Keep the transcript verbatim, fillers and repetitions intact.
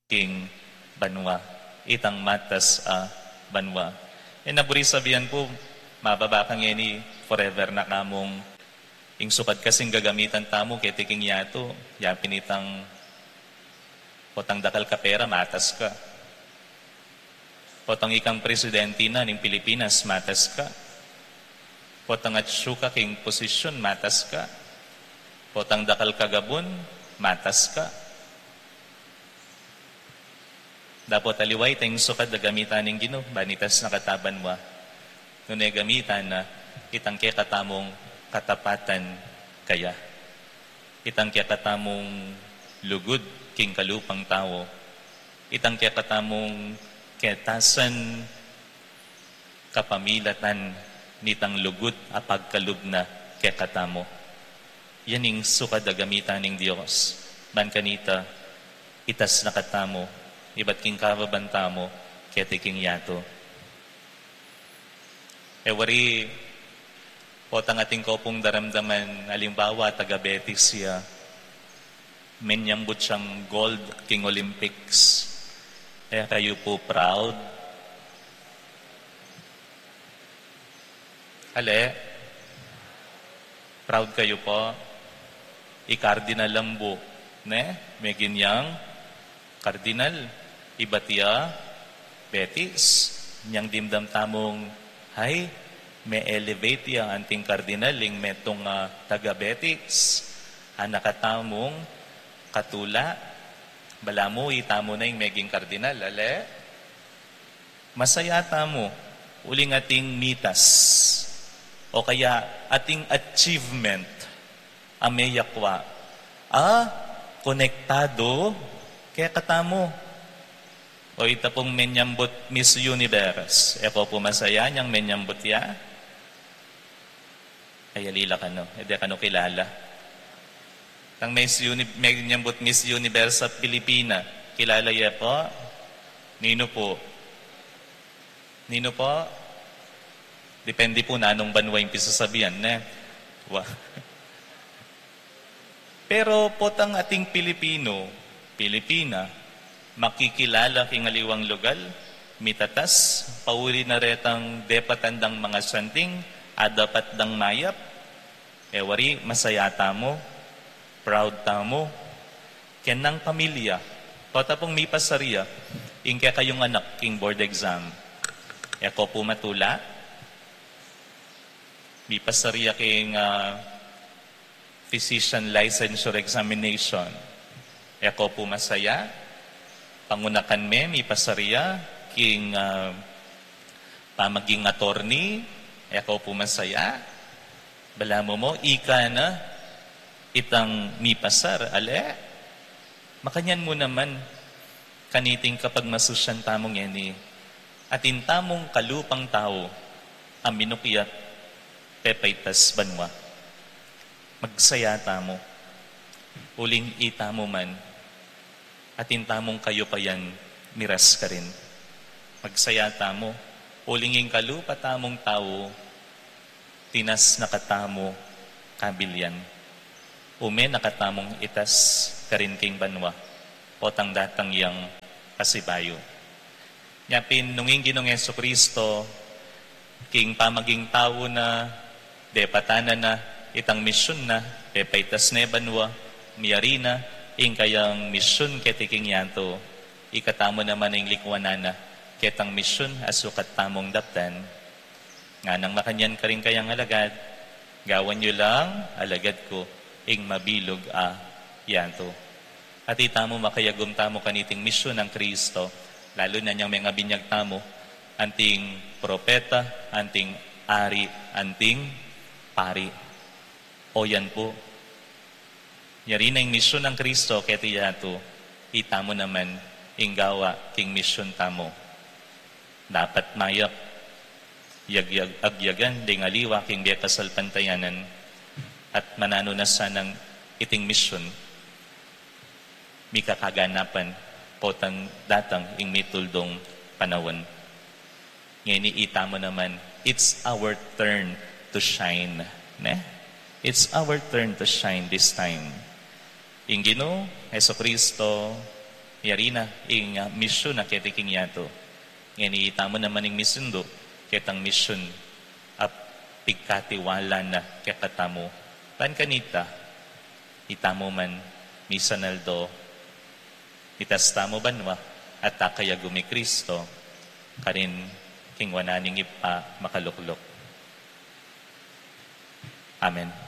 king banua, itang matas a banua. E na buri sabian pu, mababa ka ngeni, forever na ka mung, ing sukat kasing gagamitan tamu keti king yatu, yapin itang potang dakal ka pera, matas ka. Potang ikang presidente na ning Pilipinas, matas ka. Potang atsu ka king posisyon, matas ka. Potang dakal ka gabun, matas ka. Dapot aliwa ita ing sukat a gamitan ning Ginu, ban itas na ka ta banua. Nune gamitan na, itang kekatamung katapatan kaya. Itang kekatamung lugud king kalupang tau. Itang kekatamung ketasan kapamilatan nitang lugud a pagkalub na kekatamu. Yan ing sukat a gamitan ning Dios. Ban kanita, itas na katamu, ibat king kababan tamu, keti king yatu. E wari, potang atin ko pung daramdaman, alimbawa, taga Betis ya. Menyambut yang gold king Olympics. E kayu pu proud? Ale? Proud kayu pu? I Cardinal Lambu, ne? Megin yang Cardinal, ibat ya Betis, nyang dimdam tamung, hay, me-elevate ya anting Cardinal ing metung a taga Betis. Anak a tamung katula, balamu itamu na ing meging Cardinal, ale? Masaya tamu, uling ating mitas, o kaya ating achievement, a meyakwa, a konektado kekatamu. O ita pung menyambut Miss Universe, e ko pu masaya nyang menyambut ya? Ay, alila kanu, e de kanu kilala. Tang Miss Uni-, menyambut Miss Universe a Pilipina, kilala ye pu? Ninu pu? Ninu pu? Depende pu nanung banua ing pisasabian, ne? Wa. Pero potang ating Pilipino, Pilipina, makikilala king aliwang lugal, mitatas, pauli na retang depatan dang mangasanting, a dapat dang mayap, e wari masaya tamu, proud tamu, ken nang pamilya, pota pung mipasar ya ing kekayung anak king board exam. E ko pu matula, mipasar ya king, ah, physician licensure examination. E ko pu masaya, pangunakan me, mipasar ya king, ah, pamaging attorney, e ko pu masaya. Balamu mu, ika na itang mipasar, ale? Makanyan mu naman, kaniting kapagmasusyan tamu ngeni, atin tamung kalupang tau a minukyat pepaitas banua. Magsaya tamu, uling itamu man, atin tamung kayupayan miras karin. Magsaya tamu, uling ing kalupa tamung tau, tinas na katamu kabilian. Ume na katamung itas karin king banua, potang datang yang pasibayu. Nyapin nung ing Ginung Jesucristo, king pamaging tau na, depatan na na itang misyun na, pepaitas ne banua, miyari na ing kayang misyun keti king yatu, ikatamu naman ing likuanan na ketang misyun a sukat tamung daptan. Nganang makanyan karing kayang alagad, gawan yu lang alagad ku ing mabilug a yatu. At itamu makayagum tamu kaniting misyun nang Kristo, lalu na nyang mengabinyag tamu, anting propeta, anting ari, anting pari. O yan pu, yari na ing misyun nang Kristo keti yatu, itamu naman ing gawa king misyun tamu. Dapat mayap, yag-, yag-, agyagan ding aliwa king bie kasalpantayanan, at mananu na sanang iting misyun mikakaganapan potang datang ing mituldung panaun. Ngeni itamu naman, it's our turn to shine, ne? It's our turn to shine this time. Ing Ginu Jesucristo, Yari na ing, ah, misyun na keti king yatu. Ngeni itamu naman ing misindu ketang misyun a pigkatiwala na kekatamu. Ban kanita, itamu man misan aldo, mitas tamu banua, at akayagu mi Kristo, karin king wanan ning Ibpa makalukluk. Amen.